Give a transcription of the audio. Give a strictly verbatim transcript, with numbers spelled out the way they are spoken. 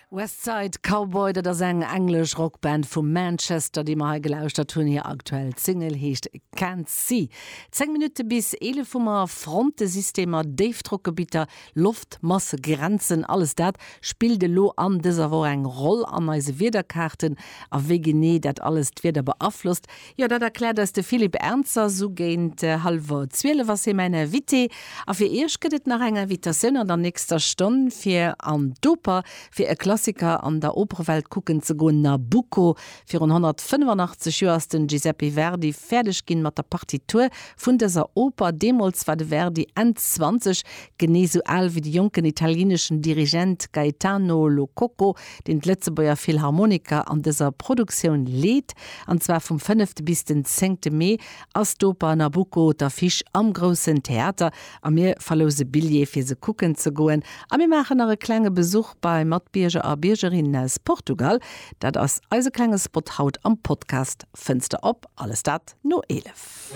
Westside Cowboy, dat ass eng englesch Rockband vu Manchester, déi mer hei gelauschtert hunn. Hir aktuell Single heescht Can't See. Zéng Minutte bis eelef hu mer. Frontesystemer, Déifdrockgebitter, Loftmassegrenzen, alles dat spillt elo an dëser Woch eng Roll an eise Wiederkaarten. A wéi genee dat alles d'Wieder beaflosst, jo dat erkläert eis de Philippe Ernzer. Sou géint hallwer zwielef ass hie mäin Invité. A fir iech gëtt et nach eng Invitatioun an der nächster Stonn fir an d'Oper, fir e Klassiker an der Operewelt kucken ze goen, Nabucco. Virun honnertfënnefanachtzeeg Joer ass den Giuseppe Verdi fäerdeg ginn mat der Partitur vun dëser Oper. Deemools war de Verdi Enn zwanzeg, genee sou al wéi de jonken italieneschen Dirigent Gaetano Lo Coco, deen d'Lëtzebuerger Philharmoniker an dëser Produktioun leet. An zwar vum fënnefte bis den zéngte Mee ass d'Oper Nabucco d'Affiche am Groussen Theater a mir verlouse Billjeeë fir se kucken ze goen. A mir maachen nach e klenge Besuch bei Matbierger a Biergerinnen aus Portugal. Dat ass eise klenge Spot haut am Podcast Fënster op. Alles dat no eelef.